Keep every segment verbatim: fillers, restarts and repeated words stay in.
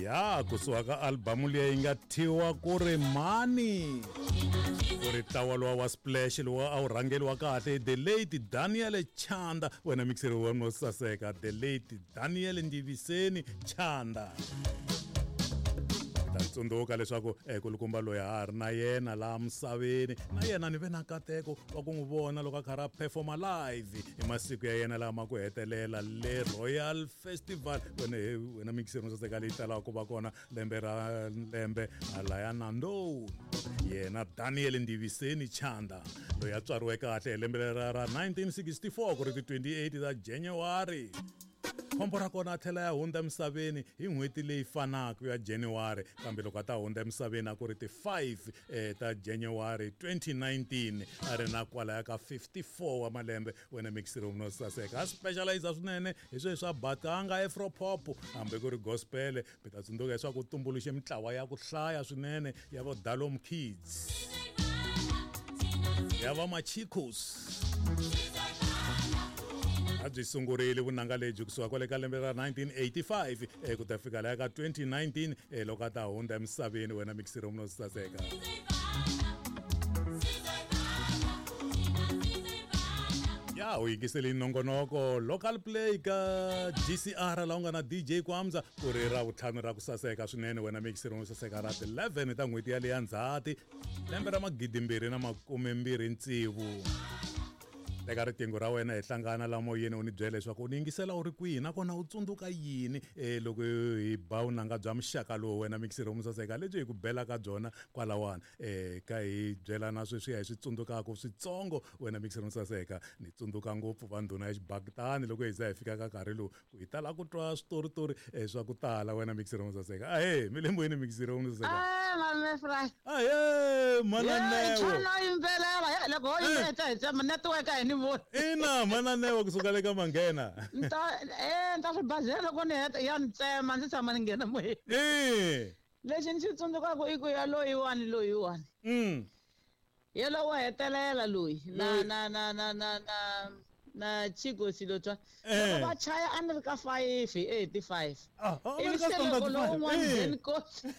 Ya kusuka ka albamu leyi yi nga thyiwa ku ri mani ku ri ntlawa luwa wa Splash lowu a wu rhangeriwa kahle the late Daniel Chanda. Wena mixeri wa no saseka the late Daniel Ndiviseni Chanda. Ta tsundzuka leswaku kulukumba loyi a ha ri na yena laha misaveni, na yena ni ve na nkateko wa ku n'wi vona loko a karhi a performa live hi masiku ya yena lama ku hetelela le Royal Festival. Wena wena mixeri no saseka leyi talaka ku va kona lembe ra lembe halaya Nandoni. Yena Daniel Ndiviseni Chanda loyi a tswariwe kahle hi lembe ra ra nineteen sixty-four ku ri ti twenty-eight ta January. Khombo ra kona a tlhela ya hundza emisaveni hi n'hweti leyi fanaka ya January, kambe loko a ta hundza emisaveni a ku ri ti five eh, ta January twenty nineteen a ri na kwalaya ka fifty-four wa malembe. Wena mixeri no saseka a specialize swinene hi sweswi swa batanga afro pop hambi ku ri gospel. Mi ta tsundzuka leswaku u tumbuluxe mitlawa ya ku hlaya swinene ya vo Dalom Kids, ya va Machicos. A byi sungurile vunanga lebyi kusuka kwale ka lembe ra nineteen eighty-five ku ta fika laha ka twenty nineteen loko a ta hundza emisaveni. Wena mixeri no saseka. Ya u yingisele nongonoko Local Play ka G C R laha u nga na D J Kwamza ku ri ra vutlhanu ra ku saseka swinene. Wena mixeri no saseka ra eleven ta n'hweti ya leya Ndzhati lembe ra magidi mbirhi na makume mbirhi tsevu. Teka riqingho ra wena hi hlangana la moyeni u ni byela leswaku u ni yingisela u ri kwihi nakona u tsundzuka yini eh loko hi ba vunanga bya muxaka lowu. Wena mixeri wo saseka lebyi hi ku bela ka byona kwalawani eh ka hi byelana sweswiya hi swi tsundzukaka switsongo. Wena mixeri wo saseka ni tsundzuka ngopfu va ndhuna ya xibakitani loko hi za hi fika ka nkarhi lowu ku hi tala ku twa switoritori eh swa ku tala. Wena mixeri wo saseka ahe mi le moyeni mixeri wo saseka. Ah mame Fry ahe mananeo yimbelela loko ho yimbeta hi tsema network a hi ni voni. Ina mananeo kusuka le ka Manghena. Nta eh nta swibazela loko ni heta ya ni tsema ndzi tshama ni nghena moyeni. Eh lexi ni xi tsundzukaka i ku ya loyiwani loyiwani mm yelo wa hetelela loyi na na na na na na na Chico Silotwa loko va chaya a ni ri ka five eighty-five. Ah ivi se loko lowun'wana Dan Kosi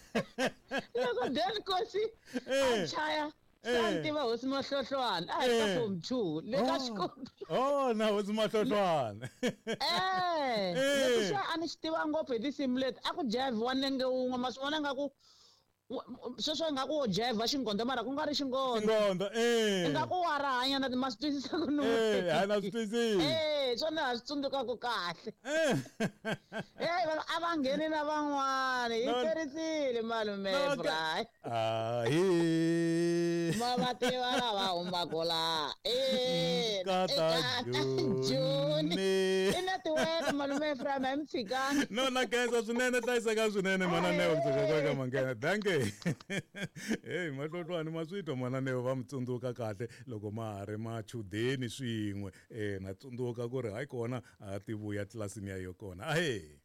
loko Dan Kosi a chaya Santi va hosi Mahlohlwana a hi ka form two le ka xikolo. Oh na hosi Mahlohlwana. Eh lexi a ni xi tiva ngopfu hi tinsimu leti a ku jive-iwa nenge wun'we ma swi vona nga ku sweswo ingaku wo jive xingondo mara ku nga ri xingondo. Xingondo eh ingaku wa ra hanya na ma swi twisisa ku no. Eh a na swi twisisi. Eh swona ha swi tsundzukaku kahle. Eh eh a va ngheni na van'wana hi terisile malume Fry. Ah hi ma va tiva lava humaka laha eh Kata Joni i network malume Fry ma mi tshikanga. No na khensa swinene hlayiseka swinene mananeo kusuka ka Manghena. Dankie. Hey Mahlohlwana ma swi twa mananeo va mi tsundzuka kahle loko ma ha ri machudeni swin'we. Eh na tsundzuka ku ri hayi kona a ti vuya tlilasini ya yo kona. Ahe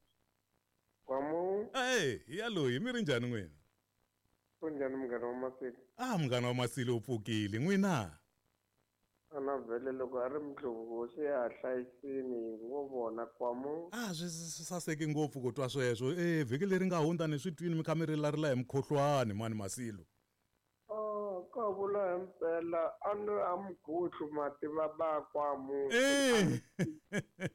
Kwamu. Ahe ya loyi mi ri njhani n'wina? Kunjhani munghana wa Masilo? Ah munghana wa Masilo u pfukile n'wina. Ana vhele loko a ri mundlhovu hosi ya ha hlayisini ngo vona Kwamu. Ah swi saseke ngopfu ku twa sweswo. Eh vhiki leri nga hundza ni swi twini mi kha mi rilarila hi mukhuhlwani mani Masilo. Oh ka vula himpela a ni a mukhuhlu mati va ba Kwamu. Eh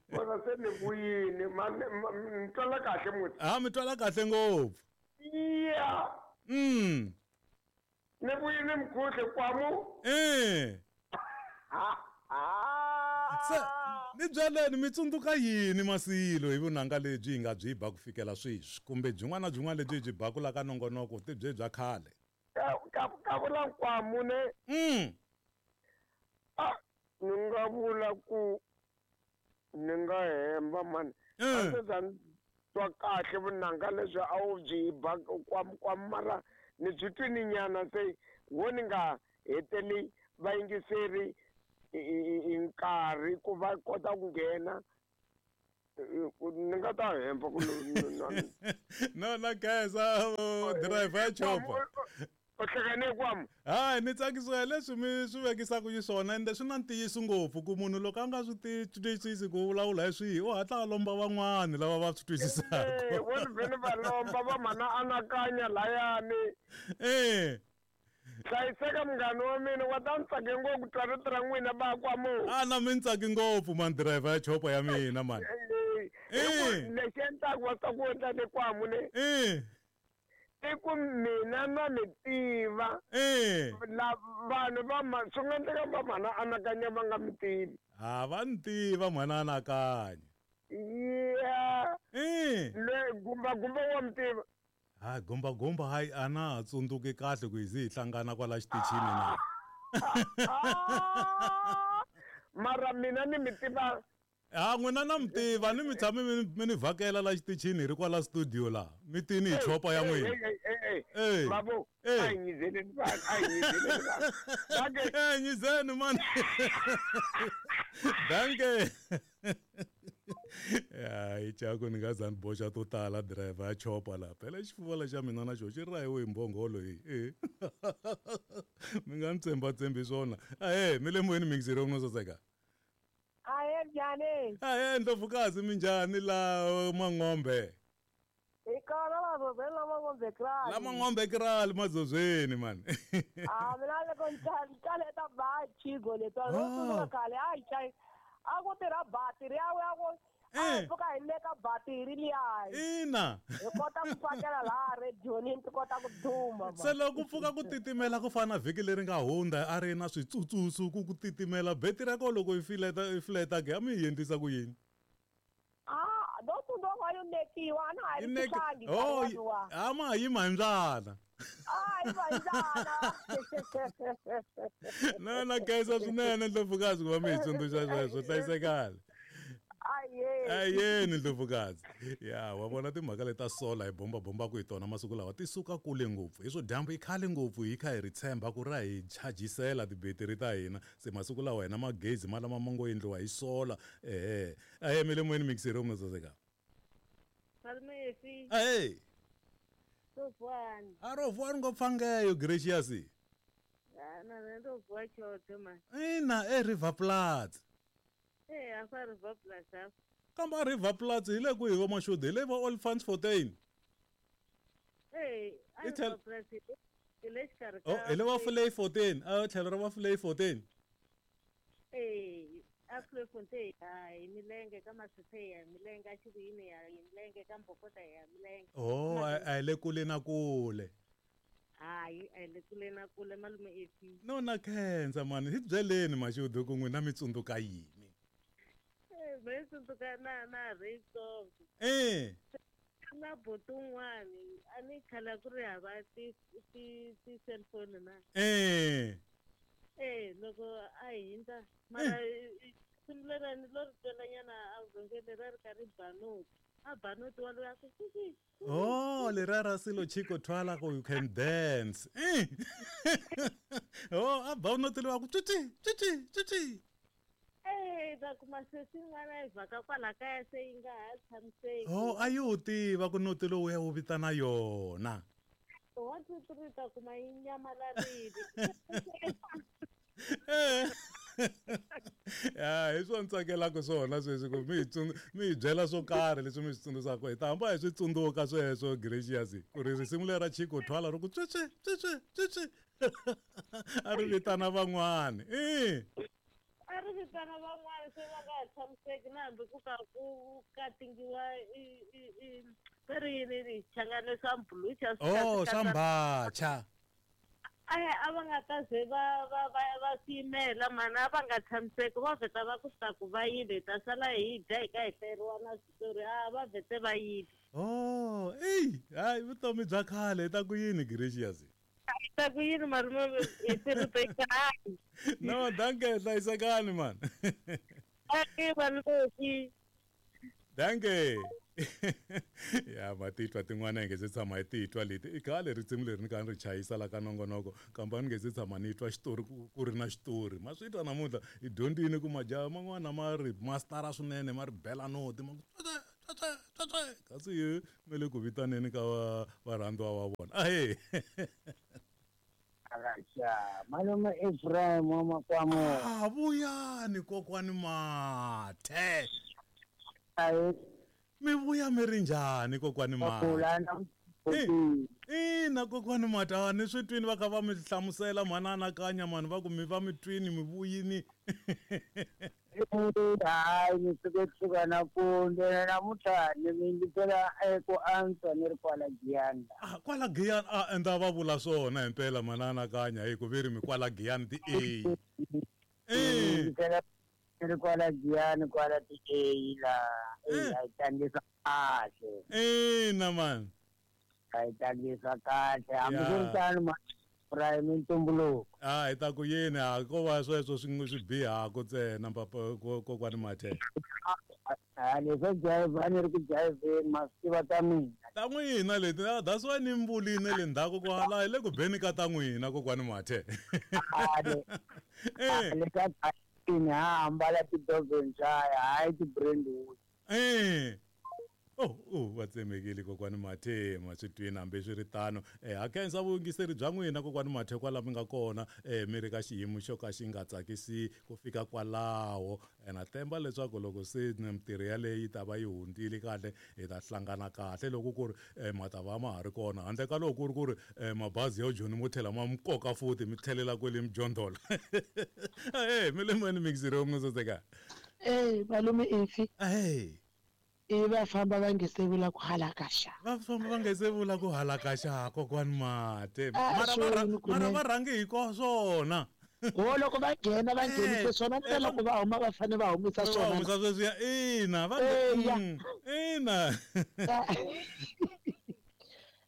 vona se ni vuyini ma ni twala kahle muti. Ah mi twala kahle ngopfu. Ya mm ni vuyini mukhuhlu Kwamu. Eh se ni byeleni mi tsundzuka yini Masilo hi vunanga lebyi hi nga byi ba ku fikela sweswi kumbe byin'wana na byin'wana lebyi byi baku la ka nongonoko ti byi bya khale? Ka ka ka vula Kwamu ne. Mm a ni nga vula ku ni nga hemba mani a ndzi za twa kahle vunanga lebyi a wu byi ba Kwamu Kwamu mara ni byi twini nyana se wo ni nga heteli vayingiseri hi nkarhi ku va kota ku nghena ni nga ta hemba ku no na khensa driver ya chopa. U hlekane kwamu. Hayi ni tsakisiwa hi leswi mi swi vekisaka xiswona ende swi na ntiyiso ngopfu ku munhu loko a nga swi twisisi ku vulavula hi swihi u hatla a lomba van'wani lava va swi twisisaka. Vo ni vhele va lomba va mhana anakanya layani. Eh. Hlayiseka munghana wa mina wa ta ni tsake ngopfu twa rito ra n'wina ba kwamu. A na mi ni tsaki ngopfu man driver ya chopa ya mina man. Eh. Lexi endlaka wa ta ku endla le kwamu ne. Eh. I ku mina na mi tiva. Eh. La vanhu va ma swi nga endleka va mhana anakanya va nga mi tivi. Ha va ni tiva mhana anakanya. Yeah. Eh. Le gumba gumba wa mi tiva. Ha gumba gumba hayi a na ha tsundzuki kahle ku hi zi hi hlangana kwala xitichini na. Mara mina ni mi tiva. Ha n'wina na mi tiva ni mi tshame mi ni vhakela la xitichini hi ri kwala studio la mi tini hi chopa ya n'wina. Eh. Babu, a hi nyizeleni vanhu, a hi nyizeleni vanhu. Eh nyizeni man. Danke. Ya hi chako ni nga za ni boxa to tala driver ya chopa la phela xifuva lexa mina na xo xi rahiwe hi mbhongolo hi eh mi nga ni tsembatsembi swona. Ahe mi le moyeni mixero no saseka. Ahe njhani? Ahe ndlovukazi minjhani la Mang'ombe? Hi kona Mazozweni la Mang'ombe kraal. La Mang'ombe kraal Mazozweni man. Ah mina loko ni kaleta ba chigo letwa ro tsundzuka khale a hi chayi a ku tirha batiri ya ya ku a pfuka hi le ka batiri liya. Ina. Hi kota ku fakela laha redioni ti kota ku duma. Se loko ku pfuka ku titimela ku fana na vhiki leri nga hundza a ri na switsutsusu ku ku titimela betiri ya kona loko yi fileta yi fileta ke a mi yi endlisa ku yini? Ah, do tsundzuka yo nekiwa a na ha ri tihlangi. Oh, a ma yima hi ndlala. Ai va ndlala. Na na khensa swinene ndlovukazi ku va mi hi tsundzuxa sweswo hlayisekani. Ayeni ndlovukazi. Ya wa vona timhaka leti ta sola hi bomba bombaku hi tona masiku lawa ti suka kule ngopfu hi swo dyambu i khale ngopfu hi kha hi ri tshemba ku ra hi chajisela tibetiri ta hina se masiku lawa hina magezi ma lama ma ngo endliwa hi sola. Ehe ahe mi le moyeni mixero mi saseka. Malume Ahe. Rovhani. A rovhani ngopfangeyo Gracious. Ah na na rovhwa choto man. Ina e River Platz. Eh afa River Platz afa. Kamba River Platz hi le kwihi va Mashudu hi le va Olifants Fontein. Eh a River Platz hi le xikarhi ka. Oh hi le va Vlei Fontein, a tlhelo ra va Vlei Fontein. Eh a Vlei Fontein hi milenge ka Masithe ya milenge a xivuyini ya milenge ka Mbokota ya milenge. Oh a hi le kule na kule. Hayi a hi le kule na kule malume efi. No na khensa mani hi byeleni Mashudu ku n'wina mi tsundzuka yini? Eh me tsundzuka na na Raysoft. Eh. Na buti un'wani a ni khale ku ri hava ti ti ti cellphone na. Eh. Eh loko a hindza mara simulelani lo ri twelanyana a vhengele ra ri karhi banoti. A banoti wa loyi a ku sisi. Oh leriya ra silo Chico Twala ku you can dance. Eh. Oh a banoti loyi a ku tswitsi tswitsi tswitsi. Eh ta kuma sesi n'wana yi vhaka kwala kaya se yi nga ha tshamiseki. Oh a yi tiva ku noti lowu ya wu vitana yona. One two three ta kuma yi nyamalarile. Eh. Ya hi swo ni tsakelaka swona sweswi ku mi hi mi hi byela swo karhi leswi mi swi tsundzusaka hi ta hamba hi swi tsundzuka sweswo Gracious ku ri risimu leri ra Chico Twala ri ku tswitswi tswitswi tswitswi a ri vitana van'wani. Eh. A ri vitana van'wani se va nga ha tshamiseki na hambi ku ka ku katingiwa i i i ri yini ni changane swa mbulucha. Oh swa mbacha. Ahe a va nga ta ze va va va va swi yimela mani a va nga tshamiseki va vheta va ku swi ta ku va yile hi ta sala hi dya hi ka hi hleriwa na switori a va vhete va yile. Oh eyi hayi vutomi bya khale hi ta ku yini Gracious? Hi ta ku yini malume hi tirhute kahle. No danke hlayisekani man. Danke malume. Danke. Ya ma titwa tin'wana hi nge se tshama hi titwa leti i khale risimu leri ni kha ni ri chayisa la ka nongonoko kambe a ni nge se tshama ni twa xitori ku ri na xitori ma swi twa namuntlha hi dyondzile ku majaha man'wana ma ri mastara swinene ma ri bela noti ma ku kasi hi me le ku vitaneni ka varhandziwa va vona. Ahee. Akaxa malume Ephraim wa Makwamo. Ah, vuyani kokwani Mathe. Ayi mi vuya mi ri njhani kokwani Mathe? Ina kokwani Mathe, ni swi twini va kha va mi hlamusela mhana anakanya mani va ku mi va mi twini mi vuyini. Hayi ni suke kusuka nampundzu namuntlha ni mi yingisela ku antswa ni ri kwala Giyani. Ah, kwala Giyani a endla va vula swona himpela mhana anakanya hi ku ve ri mi kwala Giyani ti A. Eh ni ri kwala Giyani kwala ti A la a yi tlangisa kahle. Ina man. A yi tlangisa kahle hambi swi ri tano Prime ntumbuluko. Ah, hi ta ku yini a ko va sweswo swi swi bihaka ntsena papa kokwani Mathe. Ah, leswo jive a ni ri ku jiveni ma swi tiva ta mina. Ta n'wina leti that's why ni mi vulile le ndzhaku kwala hi le ku beni ka ta n'wina kokwani Mathe. Eh le ka tini ha ambala ti-dovenjaya hayi ti-Brentwood. Eh. Oh, oh, va tsemekile kokwani Mathe ma swi twini hambi swi ri tano. Eh, ha khensa vuyingiseri bya n'wina kokwani Mathe kwala mi nga kona eh mi ri ka xiyimo xo ka xi nga tsakisi ku fika kwalaho. Na tshemba leswaku loko se mintirho yaleyo yi ta va yi hundzile kahle hi ta hlangana kahle loko ku ri ma ta va ma ha ri kona handle ka loko ku ri ku ri mabazi ya Joni mo tlhela ma mi koka futhi mi tlhelela kwele Mjondolo. Eh, mi le moyeni mixiro mi soseka. Eh, malume Ifi. Eh. I va famba va nge se vula ku halakaxa. Va famba va nge se vula ku halakaxa kokwani Mathe. Mara mara va rhange hi ko swona. Ho loko va nghena va nghenise swona na loko va huma va fanele va humisa swona. Va humisa sweswiya ina va ina.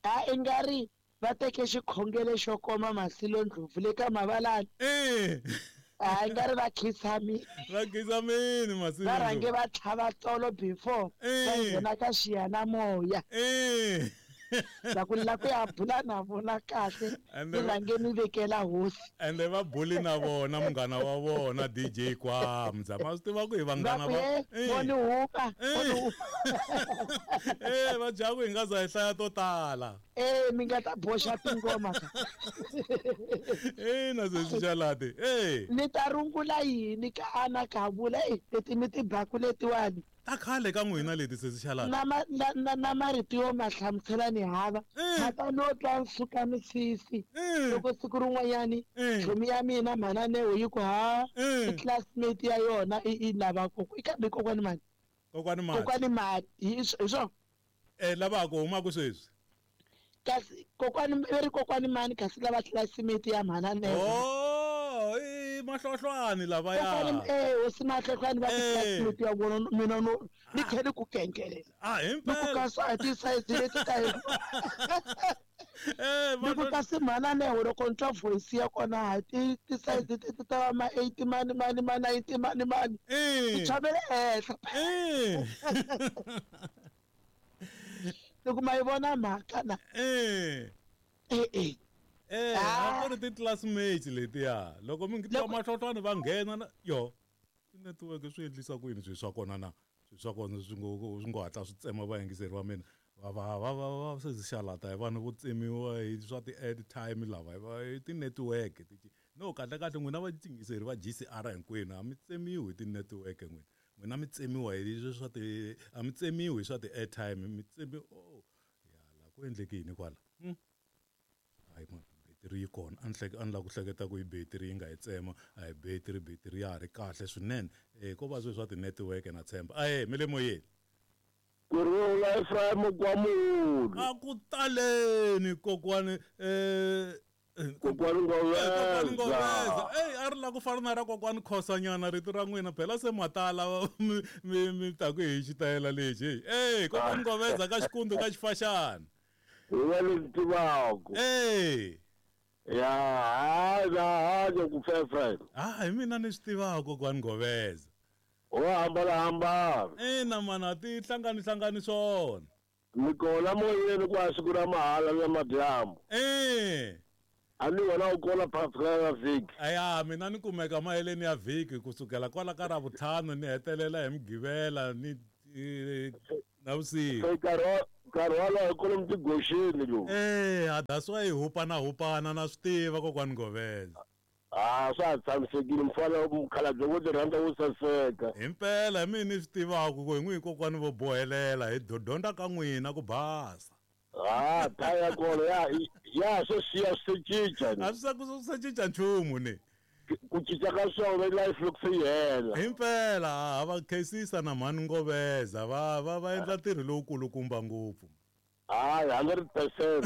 A i nga ri va teke xikhongelo xo koma Masilo Ndlovu le ka Mavalani. Eh. A nga ri va khisamini. Va khisamini Masilo. Va rhange va tlhava tsolo before va nghena ka xiyanimoya. Eh. La ku la ku ya bula na vona kahle ni rhange ni vekela hosi. Ende va buli na vona munghana wa vona D J Kwamza. Ma swi tiva ku hi vanghana va. Voni huka. Eh va dya ku hi nga za hi hlaya to tala. Eh mi nga ta boxa tingoma ka. Eh na sesi Xalati. Eh. Ni ta rungula yini ka ana ka vula eh leti mi tibaku letiwani. Ta khale ka n'wina leti sesi Xalati. Na na na marito yo ma hlamusela ni hava. Ma ta no twa nsuka misisi. Loko siku rin'wanyani chomi ya mina mhana Neo yi ku ha i classmate ya yona i lava koko i kambe kokwani mani. Kokwani mani. Kokwani mani hi swona. Eh lava ku humaka sweswi. Kasi kokwani veri kokwani mani kasi lava classmate ya mhana Neo. Oh, i mahlohlwani lava ya. Kokwani eh hosi mahlohlwani va classmate ya vona mina no ni tlhele ku kengelela. Ah, himpela. Loko ka swa ti size leti ta hi. Eh, loko kasi mhana Neo loko ni twa voice ya kona ha ti ti size ti ta va ma eighty mani mani ma ninety mani mani. Eh. Ti chavele henhla. Eh. Loko ma yi vona mhaka na. Eh. Eh eh. Eh, a ku ri ti-classmates letiya. Loko mi twa mahlohlwani va nghena na yo. Ti-network swi endlisa ku yini swilo swa kona na? Swilo swa kona swi ngo swi ngo hatla swi tsema vayingiseri va mina. Va va va va sesi Xalata hi vanhu vo tsemiwa hi swa ti-airtime lava hi ti-network. No kahle kahle n'wina vayingiseri va G C R hinkwenu a mi tsemiwi hi ti-network n'wina. N'wina mi tsemiwa hi swa ti a mi tsemiwi hi swa ti-airtime mi tsemiwa oh ya la ku endleke yini kwala. Hmm. Hayi man betiri yi kona a ni hleke a ni lava ku hleketa ku hi betiri yi nga hi tsema a hi betiri betiri ya ha ri kahle swinene eh ko va sweswi swa ti-network na tshemba ahe mi le moyeni. Kurhula Ephraim Kwamulu. A ku taleni kokwani eh kokwani Ngoveza. Kokwani Ngoveza. Eh a ri la ku fana na ra kokwani Khosanyana rito ra n'wina phela se matala mi mi mi ta ku hi xitayela lexi. Eh kokwani Ngoveza ka xikundu ka xifaxana. Hi va leswi tivaka. Eh. Ya hayi hayi ku Ephraim. Ah hi mina ni swi tivaka kokwani Ngoveza. Ho hambana hambana. Ina mana ti hlangani hlangani swona. Mi kona moyeni kwa siku ra mahala na madyambu. Eh. A ni wena u kona phakathi ka vhiki. Aya mina ni kumeka maheleni ya vhiki kusukela kwala ka Ravutlhanu ni hetelela hi Mugqivela ni Navusiku. Se nkarhi nkarhi walowo kwalomu tigoxeni lowu. Eh, that's why hi hupana hupana na swi tiva kokwani Ngoveza. Ah, swa ha tshamisekile mfana mukhalabye wo ti rhandza wo saseka. Himpela hi mina ni swi tivaka ku hi n'wi kokwani vo bohelela hi dyondza ka n'wina ku basa. Ah, taya ya kona ya ya swo siya swi cinca. A swi ku swi cinca nchumu ni. Ku cinca ka swona life loko se yi hela. Himpela va khensisa na mhani Ngoveza va va va endla ntirho lowukulukumba ngopfu. Hayi, hundred percent.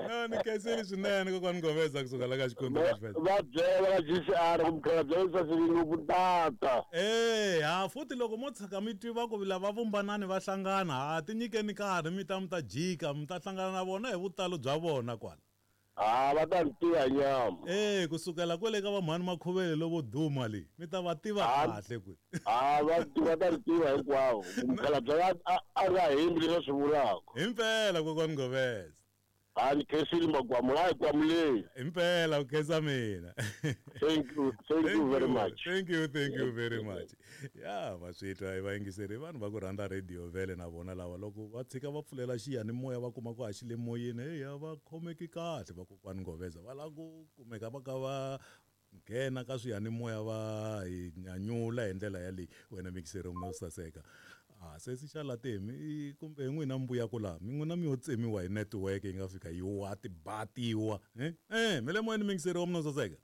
No, ni khensile swinene kokwani Ngoveza kusuka la ka Xikwembu ka Xivheza. Va byela ka G C R ku mukhalabye wo sasekile ngopfu tata. Eh, ha futhi loko mo tshika mi tiva ku lava vumbanani va hlangana, ha ti nyikeni nkarhi mi ta mi ta jika, mi ta hlangana na vona hi vutalo bya vona kwala. Ah, va ta ni tiva nyama. Eh, kusukela kwale ka va mhani Makhuvele lovo duma le, mi ta va tiva kahle kwi. Ah, va va ta ni tiva hinkwavo. Mukhalabye a a ri hembi leswi swi vulaka. Himpela kokwani Ngoveza. Ah, ni khensile Magwamu, hayi kwamuleni. Himpela ku khensa mina. Thank you, thank you very much. Thank you, thank you very much. Ya, va swi twa va yingiseri vanhu va ku rhandza radio vele na vona lava loko va tshika va pfulela xiyanimoya va kuma ku a xi le moyeni, hey, a va khomeki kahle va kokwani Ngoveza va lava ku kumeka va ka va nghena ka swiyanimoya va hi nyanyula hi ndlela yaleyi. Wena mixeri no saseka. Ah, sesi xa Latemi kumbe hi n'wina mi vuya ku laha mi n'wina mi yo tsemiwa hi network yi nga fika yi wa tibatiwa eh eh mi le moyeni mixeri wa mina saseka.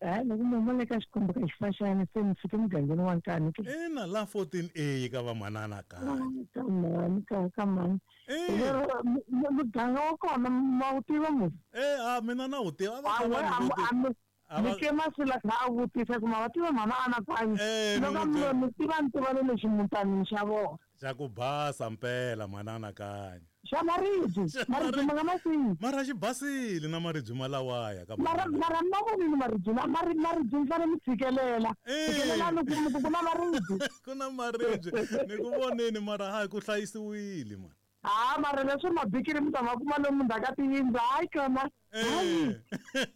Hayi, loko mi le ka Xikwembu ka xifaxana se mi fike mugangeni wa Nkani ke. Ina la fourteen A ka va manana ka. Ka mani ka ka mani. Muganga wa kona ma wu tiva musi? Eh, a mina na wu tiva va ka vanhu. Ni ke masula kha a vutisa ku ma va tiva mhana Anakanyi. Loko mi mi tiva ni tiva le ximutanini xa vona. Xa ku basa mpela mhana Anakanyi. Xa maribye, maribye ma nga masivi. Mara xi basile na maribye malawaya ka mara mara ma vonile maribye na mari maribye mi fanele mi tshikelela. Tshikelela ni ku ku na maribye. Ku na maribye ni ku voneni mara hayi ku hlayisiwile man. Ah, mara leswi mabikiri mi ta ma kuma lomu ndzhaku ka tiyindlu hayi kona. Hayi.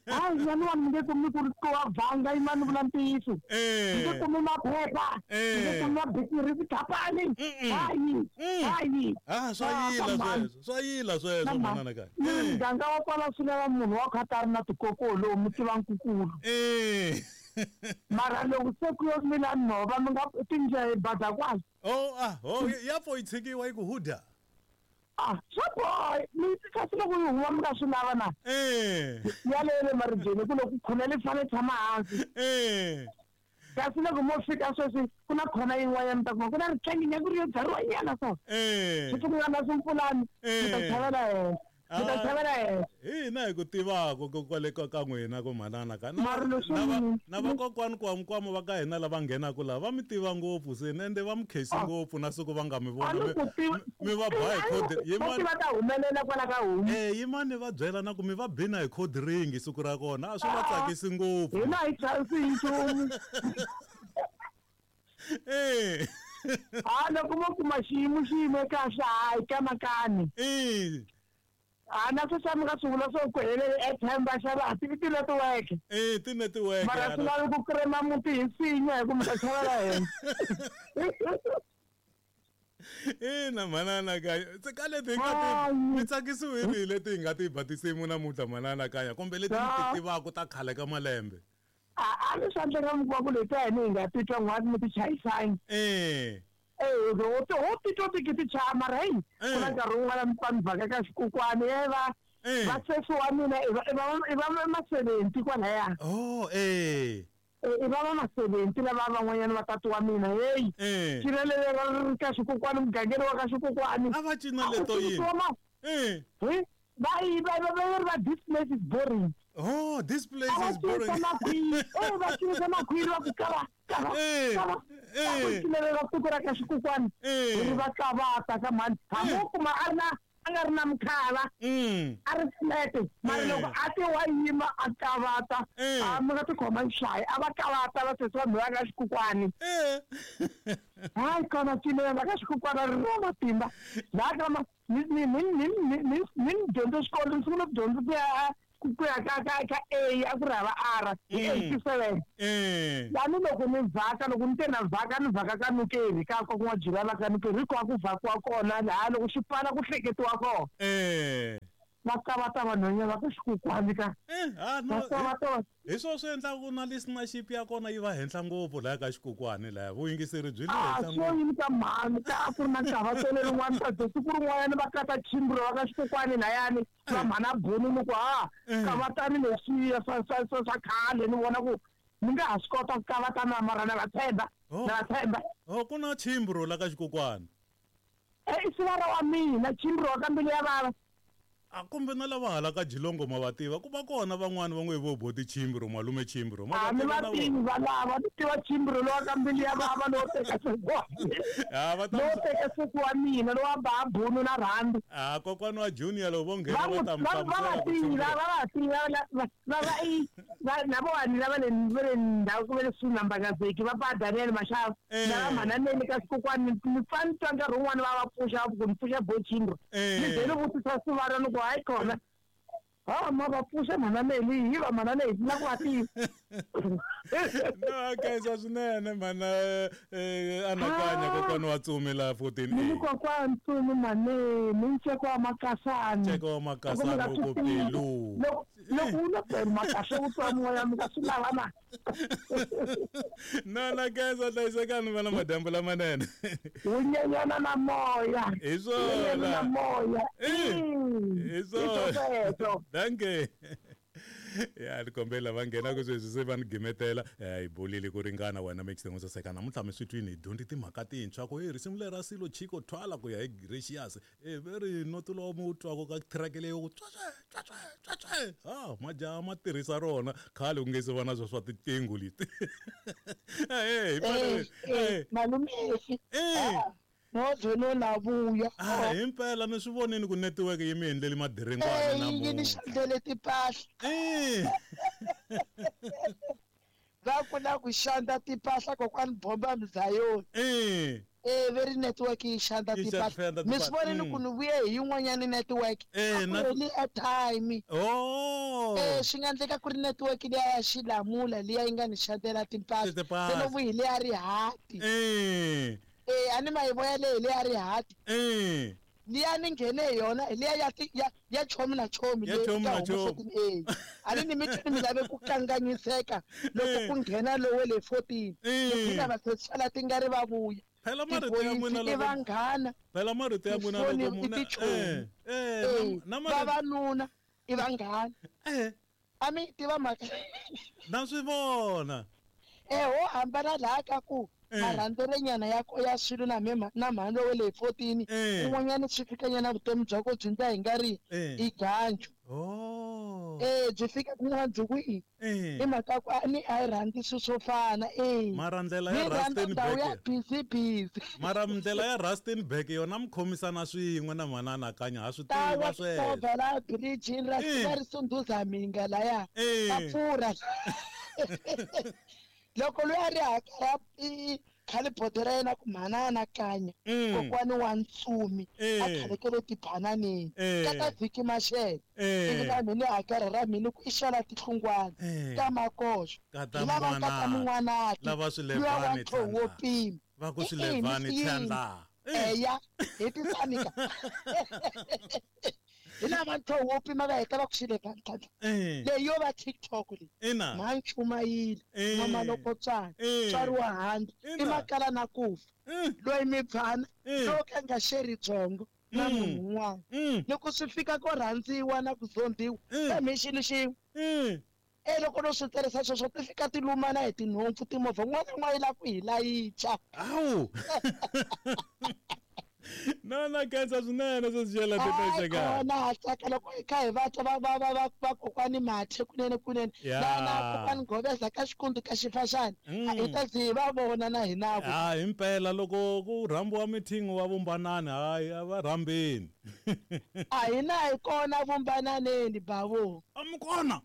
Hayi, nyana wa mi nge kumi ku ri wa vhanga yimani vula ntiyiso. Mi nge kumi maphepha. Mi nge kumi mabikiri tikhampani. Hayi. Hayi. Ah, swa yila sweswo. Swa yila sweswo manana kaya. Muganga wa kwala swi lava munhu wa kha ta ri na tikokolo lowu mi tiva nkukulu. Eh. Mara loko se ku yo mila nhova mi nga tindlela bada kwala. Oh, ah, oh, ya pfo yi tshikiwa yi ku huda. Ah, swa boy, mi kasi loko yi huma mi nga swi lava na. Eh. Ya le le maribyeni ku loko khona li fanele tshama hansi. Eh. Kasi loko mo fika sweswi ku na khona yin'wanyana mi ta kuma ku na ritlangi ku ri yo byariwa nyana so. Eh. Swi ku nga na swimpfulani. Mi ta chavela henhla. Mi ta chavela henhla. Hina hi ku tivaka ku kwale ka ka n'wina ku manana ka na na vakokwani kwamkwama va ka hina lava nghenaka laha va mi tiva ngopfu se ende va mi khensi ngopfu na siku va nga mi vona mi va ba hi code yimani va ta humelela kwala ka homu. Eh, yimani va byela na ku mi va bina hi code ring siku ra kona a swi va tsakisi ngopfu. Hina hi chavisi hi nchumu. Eh. Ah, loko mo kuma xiyimo xi yime kahle hayi kamakani. Eh. Ah, na sweswi mi nga swi vula swo ku helele airtime va xava a ti ti-network. Eh, ti-network. Mara swi lavi ku krema muti hi nsinya hi ku mi ta xavela henhla. Ina manana kaya. Se ka leti hi nga ti mi tsakisiwe hi leti hi nga ti ba tinsimu namuntlha manana kaya kumbe leti mi ti tivaka ta khale ka malembe. A a ni swa endleka mi kuma ku leti ta hina hi nga titwa n'hwati mi ti chayisangi. Eh. Eh, ho ho titwa ti ti chaya mara hey, ku na nkarhi wun'wana mi pfa mi vhaka ka xikokwani e va va sesi wa mina i va i va i va ma-seventy kwalaya. Oh, eh. I va va ma-seventy lava van'wanyana va tati wa mina hey. Cina leri ri ka xikokwani mugangeni wa ka xikokwani. A va cina leto yini? Eh. Va yi va va va va this place is boring. Oh, this place is boring. Eh, va cinisa makhwiri va ku kava kava kava. Eh. Ku cinela siku ra ka xikokwani. Ri va kavata ka mhani. Hambi wo kuma a ri na a nga ri na mukhala. A ri flat. Mara loko a ti wa yima a kavata, a mi nga ti khoma nxayi, a va kavata va sesi vanhu va ka xikokwani. Eh. Hayi kona cinela ra ka xikokwani ri na matimba. Laha ka ma ni ni ni ni ni ni ni dyondze xikolo ni sungule ku dyondza ku ya ku ya ka ka ka A a ku ri hava R hi eighty-seven lani loko ni vhaka loko ni te na vhaka ni vhaka ka Nukeri ka ka n'wajirana ka Nukeri hikwako ku vhakiwa kona laha loko xi pfala ku hleketiwa kona va kavata vanhwanyana va ku xikukwani ka hi swo swi endlaku na listenership ya kona yi va henhla ngopfu laya ka xikukwani laya vuyingiseri byi le henhla ngopfu yini ka mhani ka a ku ri na nkavatelo rin'wana ta siku rin'wanyana va kata chimbro va ka xikukwani layani va mhana buni ni ku ha kavatani leswiya swa swa swa swa khale ni vona ku ni nga ha swi kota ku kavatana mara na va tshemba na va tshemba oh ku na chimbro la ka xikukwani e i sivara wa mina chimbro wa ka mbilu ya vava a kumbe na lava hala ka Jilongo ma va tiva ku va kona van'wani va n'we vo boti chimbro malume chimbro ma va tiva va lava ni tiva chimbro lowa ka mbilu ya vava lowo teka siku ha va ta lowo teka siku wa mina lowa ba bunu na rhandi a kokwani wa junior lowo vo nghena va ta va va tiva va va tiva va va i va na vona lava le va le ndhawu ku va le swi nambakazeki va ba Daniel Mashava na va mananeni ka xikokwani ni pfa ni twa nkarhi wun'wani va va pfuxa ku ni pfuxa bo chimbro ni ze ni vutisa sivara ni ku hayi kona ha ma va pfuxa mhana Meli hi va mhana leyi na ku va tiva no khensa swinene mhana anakanya kokwani wa Tsumi la fourteen ni kokwani Tsumi mane ni nceko wa Makasani nceko wa Makasani ku pilu loko loko u na pelu makasa u twa moya mi ka swi lava na no na khensa hlayisekani va na madyambu lamanene wu nyenyana na moya hi swona na moya hi swona danke ya ni kombela va nghena ku sweswi se va ni gimetela hi bolile ku ringana wena mixing u saseka namuntlha mi swi twini hi dyondzi timhaka tintshwa ku hi risimu leri ra Silo Chiko Thwala ku ya hi Gracious e ve ri noto lowu mi wu twaka ka track leyi ku tswatswe tswatswe tswatswe ha majaha ma tirhisa rona khale ku nge se va na swo swa tiqingho leti eh malume no no na vuya ah himpela ni swi vonini ku network yi mi endleli madiringwana na yi ni xandlele tipahla eh va ku na ku xandla tipahla kokwani bomba mzayoni eh eh veri network yi xandla tipahla mi swi vonini ku ni vuye hi yin'wanyana network eh na ni airtime oh eh swi nga endleka ku ri network liya ya xilamula liya yi nga ni xandlela timpahla se no vuyi liya rihati eh eh ani mayivoya leyi leya rihati eh liya ni nghene hi yona liya ya ya ya chomi na chomi ya chomi na chomi eh ani ni mitini mi lave ku kanganyiseka loko ku nghena lowe le fourteen ni va sala ti nga ri va vuya phela marito ya n'wina loko vanghana phela marito ya n'wina loko muna eh eh na vavanuna i vanghana eh ami tiva mhaka na swi vona eh ho hambana laha ka ku marhandzelenyana ya ya swilo na mhema na mhando wa le fourteen un'wanyana swi fikanyana vutomi bya ko byi ndla hi nga ri i ganju oh eh byi fika kun'wana byi ku i i mhaka ku ni a yi rhandzi swilo swo fana eh mara ndlela ya Rustenburg ya busy busy mara ndlela ya Rustenburg yona mi khomisana swin'we na mhana Anakanya ha swi tiva sweswo la bridge ra ra ri sunduza minga laya va pfurha loko loyi a ri hakara i khale bodo ra yena ku mhana Anakanya kokwani wa Ntsumi a khalekele tibananeni ka ta vhiki maxele ivi na mina hakara ra mina ku i xala tihlungwana ta makoxo hi lava ka ta mun'wanati lava swilevani wo pima va ku swilevani thandla eya hi tisanika hi lava ntho wo pima va heta va ku xilevani tlhandla leyi yo va TikTok leyi mhanchumayile n'wamalokotswana tswariwa handle i makala na ku fa loyi mi pfana lowo ka nga xeri byongo na munhu un'wana loko swi fika ko rhandziwa na ku zondiwa kambe xilo xin'we e loko no swi tirhisa sweswo ti fika ti lumana hi tinhompfu timovha n'wana na un'wana yi lava ku hi layicha awu no na khensa swinene sweswi teka na tsaka loko hi kha hi va twa va va va va va kokwani Mathe kunene kunene na na kokwani Goveza ka xikundu ka xifaxani hi ta zi hi va vona na hina ku ha himpela loko ku rhambiwa meeting wa vumbanani hayi a va rhambeni a hina hi kona vumbananeni bavo a mi kona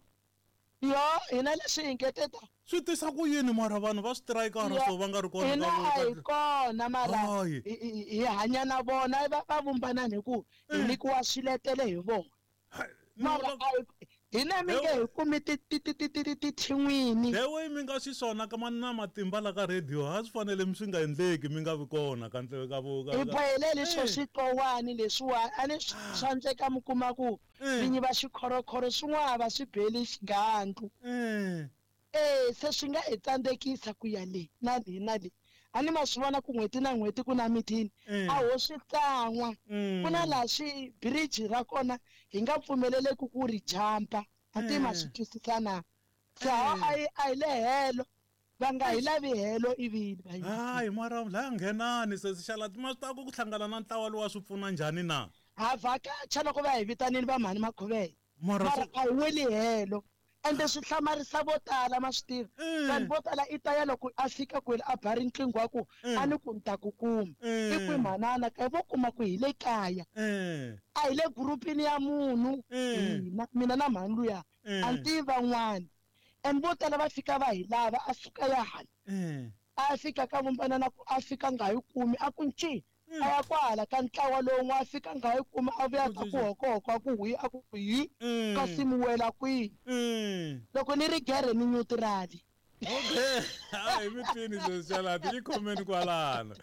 yo hina leswi hi ngeteta swi tisa ku yini mara vanhu va switirayikara so va nga ri kona hina a hi kona mara hi hanya na vona va va vumbanani hi ku hi nyikiwa swiletelo hi vona mara Hina mi nge hi kumi ti ti ti ti ti ti thin'wini. The way mi nga xiswona ka na matimba la ka radio a swi fanele mi swi nga endleki mi nga vi kona ka ndleve ka vo hi bohelele swo switowani leswiwani a ni swa endleka mi kuma ku vinyi va xikhorokhoro swin'wana va swi beli xigandlu. Eh se swi nga hi tsandzekisa ku ya le na le na le. A ni ma swi vona ku n'hweti na n'hweti ku na mithini a ho swi tlan'wa ku na laha swi bridge ra kona hi nga pfumeleleki ku ri jampa a ti ma swi twisisa na se a hi a hi le helo va nga hi lavi helo ivili va hayi mara la nghenani se xalati ma swi ta ku hlangana na ntlawa lowa swi pfuna njhani na ha vhakacha loko va hi vitanile va mhani Makhovele mara a hi weli helo. Ende swi hlamarisa vo tala ma swi tiva vanhu vo tala i ta ya loko a fika kwele a ba riqingho wa ku a ni ku ni ta ku kuma i kwi manana ka vo kuma ku hi le kaya a hi le gurupini ya munhu hina mina na mhani luya a ni tivi van'wana and vo tala va fika va hi lava a suka ya hala a fika ka vumbanana ku a fika nga yi kumi a ku nci a ya kwala ka ntlawa lowu a fika nga yi kuma a vuya ka ku hokohoko a ku hwi a ku hi kasi mi wela kwihi loko ni ri gere ni neutrali. Okay hayi mi twini sweswi xalati yi khomeni kwalano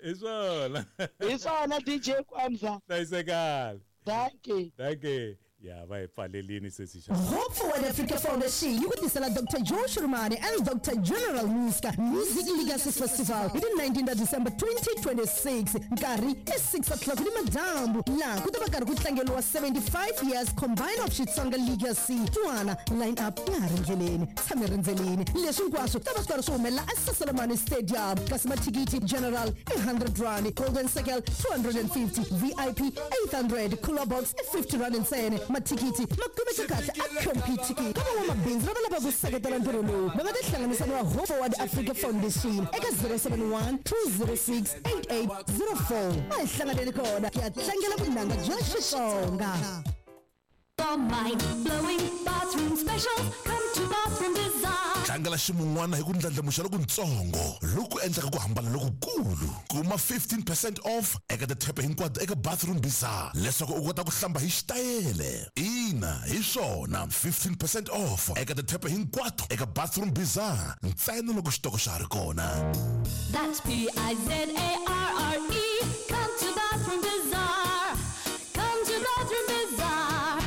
hi swona hi swona D J Kwamza hlayisekale. Thank you. Thank you. Ya va hi pfalelini sesi xa Hope Forward Africa Foundation yi ku tisela Doctor Joe Shurumane and Doctor General Muska Music Legacy Festival hi ti nineteen ta December twenty twenty-six nkarhi i six o'clock ni madyambu laha ku ta va karhi ku tlangeriwa seventy-five years combined of Xitsonga Legacy. Twana line up ya ha ri ndleleni tshame rindzeleni leswi hinkwaswo ta va swi karhi swi humelela eSasolomane Stadium kasi mathikithi general i hundred rand, golden circle two hundred and fifty, V I P eight hundred, cooler box i fifty rand ntsena. Mathikithi ma kumeka kahle a competitive ka van'wamabindzu lava lavaka ku seketela ntirho lowu va nga tihlanganisa na Hope Forward Africa Foundation eka zero seven one two zero six eight eight zero four. A hi hlanganeni kona ku ya tlangela vunanga bya Xitsonga. Mind-blowing bathroom specials come to Bathroom Bazaar. Tlangela ximun'wana hi ku ndlandlamuxa lokuntsongo loku endlaka ku hambana lokukulu. Kuma fifteen percent off eka tithepe hinkwato eka Bathroom Bazaar leswaku u kota ku hlamba hi xitayele. Ina, hi swona fifteen percent off eka tithepe hinkwato eka Bathroom Bazaar ntsena loko xitoko xa ha ri kona. That's P I Z A R R E. Come to Bathroom Bazaar. Come to Bathroom Bazaar.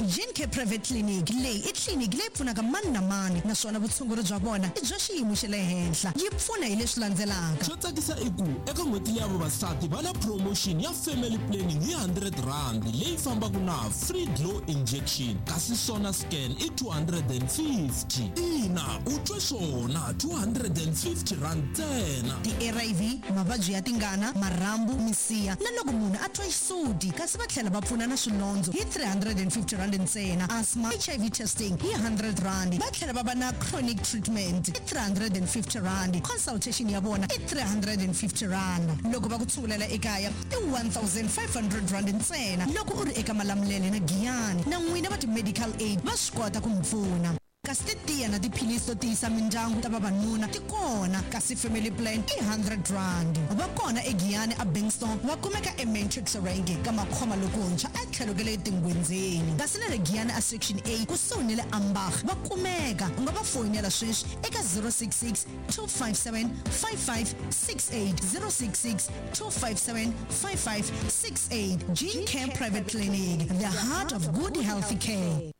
Gene Care Private Clinic leyi i tliliniki leyi pfunaka mani na mani naswona vutshunguri bya vona i bya xiyimo xa le henhla. Yi pfuna hi leswi landzelaka. Xo tsakisa i ku eka n'hweti ya vavasati va na promotion ya family planning hi hundred rand leyi fambaka na free glow injection kasi sona scan i two hundred and fifty. Ina u twe swona two hundred and fifty rand ntsena. Ti-R I V, mavabyi ya tingana, marhambu, misiha na loko munhu a twa xisuti kasi va tlhela va pfuna na swilondzo hi three hundred and fifty rand ntsena. Asthma, H I V testing hi hundred rand. Va tlhela va va na chronic treatment i three hundred and fifty rand. Consultation ya vona i three hundred and fifty rand. Loko va ku tshungulela ekaya i one thousand five hundred rand ntsena. Loko u ri eka Malamulele na Giyani na n'wina va ti-medical aid va swi kota ku mi pfuna. Kasi titiya na tiphilisi to tiyisa mindyangu ta vavanuna ti kona kasi family plan i hundred rand. Va kona eGiyani a Bankston, va kumeka eMatrix Range ka Makhoma lokuntshwa a tlhelo ka le Tingwenzeni. Kasi na le Giyani a Section A kusuhi ni le Ambach va kumeka. U nga va foyinela sweswi eka zero six six two five seven five five six eight, zero six six two five seven five five six eight. Gene Care Private Clinic, the heart of good healthy care.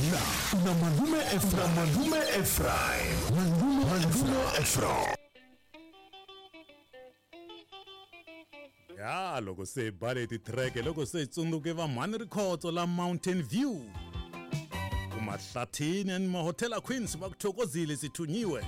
Na, na Malume Ephraim, Malume Ephraim, Malume, Malume Ephraim. Ya loko se bale titreke loko se tsundzuke va mhani Rikhotso la Mountain View. Kumahlathini and mahotela Queens va ku thokozile sithunyiwe.